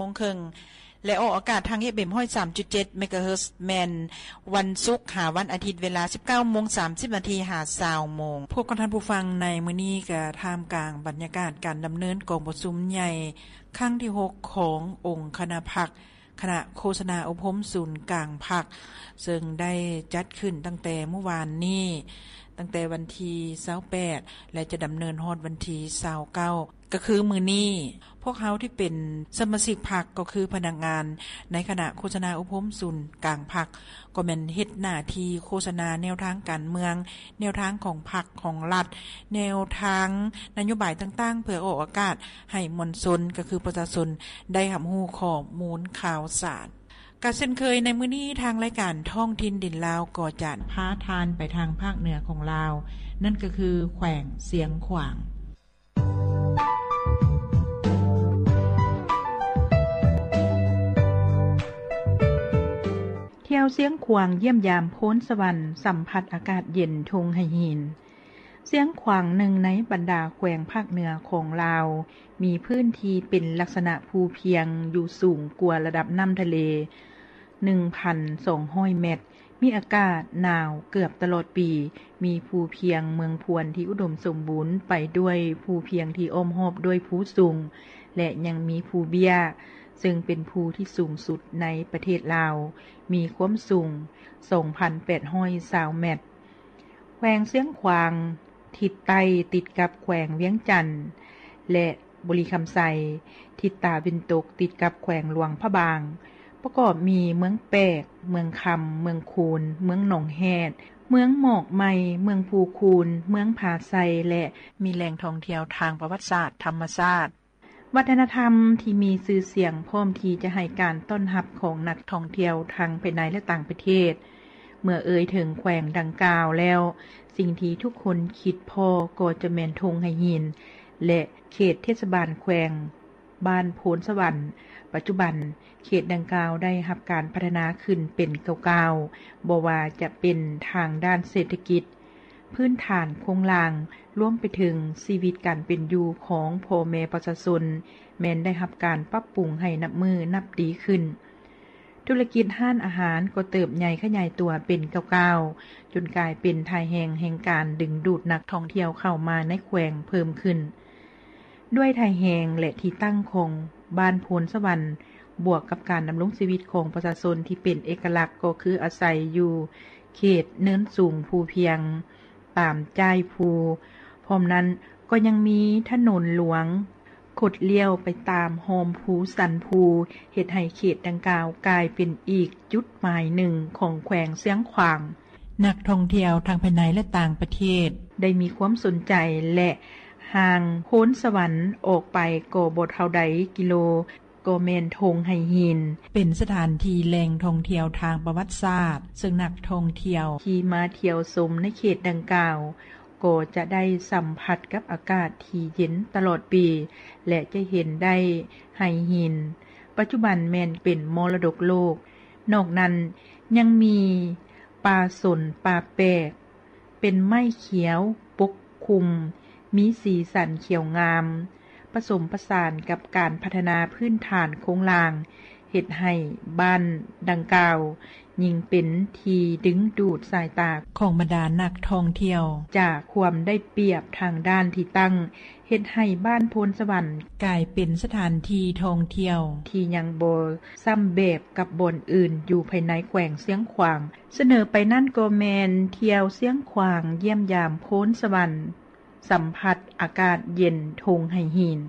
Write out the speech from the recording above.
ງເຄິ່ງ ແລະ ອອກອາກາດທາງ ເອັຟເອັມ ຮ້ອຍສາມຈຸດເຈັດ ເມກາເຮີດ ແມ່ນວັນສຸກຫາວັນອາທິດ ເວລາ ສິບເກົ້າໂມງສາມສິບນາທີ ຫາ ຊາວໂມງ. ພວກຂອງທ່ານຜູ້ຟັງໃນມື້ນີ້ ກະທ່າມກາງບັນຍາກາດການດຳເນີນກອງປະຊຸມໃຫຍ່ຄັ້ງທີຫົກ ຂອງອົງຄະນະພັກ ຄະນະໂຄສະນາອົບຮົມສູນກາງພັກ ເຊິ່ງໄດ້ຈັດຂຶ້ນຕັ້ງແຕ່ມື້ວານນີ້ ຕັ້ງແຕ່ວັນທີຊາວແປດ ແລະ ຈະດຳເນີນຮອດວັນທີຊາວເກົ້າ ກໍຄືມື້ນີ້. ພວກເຮົາທີ່ເປັນສະມາຊິກພັກ ກໍຄືພະນັກງານໃນຄະນະໂຄສະນາອົບຮົມສູນກາງພັກ ກໍແມ່ນເຮັດໜ້າທີ່ໂຄສະນາແນວທາງການເມືອງ, ແນວທາງຂອງພັກຂອງລັດ, ແນວທາງນະໂຍບາຍຕ່າງໆ ເພື່ອອອກອາກາດໃຫ້ມວນຊົນ ກໍຄືປະຊາຊົນ ໄດ້ຮັບຮູ້ຂໍ້ມູນຂ່າວສານ. ກະເຊັ່ນເຄີຍໃນມື້ນີ້ ທາງລາຍການທ້ອງຖິ່ນດິນລາວ ກໍຈະພາທ່ານໄປທາງພາກເໜືອຂອງລາວ, ນັ້ນກໍຄືແຂວງຊຽງຂວາງ. ທ່ຽວຊຽງຂວາງ ຢ້ຽມຢາມໂພນສະຫວັນ ສຳຜັດອາກາດເຢັນທົ່ງໄຫຫີນ. ຊຽງຂວາງ ໜຶ່ງໃນບັນດາແຂວງພາກເໜືອຂອງລາວ ມີພື້ນທີ່ເປັນລັກສະນະພູພຽງຢູ່ສູງກວ່າລະດັບນ້ຳທະເລ ໜຶ່ງພັນສອງຮ້ອຍແມັດ, ມີອາກາດໜາວເກືອບຕະຫຼອດປີ, ມີພູພຽງເມືອງພວນທີ່ອຸດົມສົມບູນໄປດ້ວຍພູພຽງທີ່ອ້ອມຮອບດ້ວຍພູສູງ ແລະ ຍັງມີພູເບ້ຍ ເຊິ່ງເປັນພູທີ່ສູງສຸດໃນປະເທດລາວ, ມີຄວາມສູງສອງພັນແປດຮ້ອຍຊາວແມັດ. ແຂວງຊຽງຂວາງ ທິດໃຕ້ຕິດກັບແຂວງວຽງຈັນ ແລະ ບໍລິຄຳໄຊ, ທິດຕາເວັນຕົກຕິດກັບແຂວງຫຼວງພະບາງ, ປະກອບມີເມືອງແປກ, ເມືອງຄຳ, ເມືອງຄູນ, ເມືອງໜອງແຮດ, ເມືອງໝອກໃໝ່, ເມືອງພູຄູນ, ເມືອງຜາໄຊ ແລະ ມີແຫຼ່ງທ່ອງທ່ຽວທາງປະຫວັດສາດ, ທຳມະຊາດ, ວັດທະນະທຳທີ່ມີຊື່ສຽງ ພ້ອມທີ່ຈະໃຫ້ການຕ້ອນຮັບຂອງນັກທ່ອງທ່ຽວທັງພາຍໃນ ແລະ ຕ່າງປະເທດ. ເມື່ອເອີ່ຍເຖິງແຂວງດັ່ງກ່າວແລ້ວ, ສິ່ງທີ່ທຸກຄົນຄິດພໍ້ກໍຈະແມ່ນທົ່ງໄຫຫີນ ແລະ ເຂດເທດສະບານແຂວງ ບ້ານໂພນສະຫວັນ. ປັດຈຸບັນ, ເຂດດັ່ງກ່າວໄດ້ຮັບການພັດທະນາຂຶ້ນເປັນກ້າວໆ, ບໍ່ວ່າຈະເປັນທາງດ້ານເສດຖະກິດ, ພື້ນຖານໂຄງລ່າງ, ລວມໄປເຖິງຊີວິດການເປັນຢູ່ຂອງພໍ່ແມ່ປະຊາຊົນ ແມ່ນໄດ້ຮັບການປັບປຸງໃຫ້ນັບມື້ນັບດີຂຶ້ນ. ທຸລະກິດຮ້ານອາຫານກໍເຕີບໃຫຍ່ຂະຫຍາຍຕົວເປັນກ້າວໆ, ຈົນກາຍເປັນທ່າແຮງແຫ່ງການດຶງດູດນັກທ່ອງທ່ຽວເຂົ້າມາໃນແຂວງເພີ່ມຂຶ້ນ. ດ້ວຍທ່າແຮງ ແລະ ທີ່ຕັ້ງຂອງບ້ານໂພນສະຫວັນ, ບວກກັບການດຳລົງຊີວິດຂອງປະຊາຊົນທີ່ເປັນເອກະລັກ ກໍຄືອາໄສຢູ່ເຂດເນີນສູງພູພຽງ ຕາມຈ້າຍພູ. ພ້ອມນັ້ນກໍຍັງມີຖະໜົນຫຼວງ ຄົດລ້ຽວໄປຕາມຮ່ອມພູສັນພູ, ເຮັດໃຫ້ເຂດດັ່ງກ່າວກາຍເປັນອີກຈຸດໝາຍໜຶ່ງຂອງແຂວງຊຽງຂວາງ. ນັກທ່ອງທ່ຽວທັງພາຍໃນ ແລະ ຕ່າງປະເທດ ໄດ້ມີຄວາມສົນໃຈ ແລະ ຫ່າງໂພນສະຫວັນອອກໄປກໍບໍ່ເທົ່າໃດກິໂລ ກໍແມ່ນທົ່ງໄຫຫີນ, ເປັນສະຖານທີ່ແຫຼ່ງທ່ອງທ່ຽວທາງປະຫວັດສາດ, ເຊິ່ງນັກທ່ອງທ່ຽວທີ່ມາທ່ຽວຊົມໃນເຂດດັ່ງກ່າວ ກໍຈະໄດ້ສຳຜັດກັບອາກາດທີ່ເຢັນຕະຫຼອດປີ ແລະ ຈະເຫັນໄດ້ໄຫຫີນ, ປັດຈຸບັນແມ່ນເປັນມໍລະດົກໂລກ. ນອກນັ້ນຍັງມີປ່າສົນ, ປ່າແປກ, ເປັນໄມ້ຂຽວປົກຄຸມ, ມີສີສັນຂຽວງາມ, ປະສົມປະສານກັບການພັດທະນາພື້ນຖານໂຄງລ່າງ, ເຮັດໃຫ້ບ້ານດັ່ງກ່າວຍິ່ງເປັນທີ່ດຶງດູດສາຍຕາຂອງບັນດານັກທ່ອງທ່ຽວ. ຈາກຄວາມໄດ້ປຽບທາງດ້ານທີ່ຕັ້ງ, ເຮັດໃຫ້ບ້ານໂພນສະຫວັນກາຍເປັນສະຖານທີ່ທ່ອງທ່ຽວທີ່ຍັງບໍ່ຊ້ຳແບບກັບບ່ອນອື່ນຢູ່ພາຍໃນແຂວງຊຽງຂວາງ. ສະເໜີໄປນັ້ນກໍແມ່ນທ່ຽວຊຽງຂວາງຢ້ຽມຢາມໂພນສະຫວັນ, ສຳຜັດອາກາດເຢັນທົ່ງໄຫຫີນ.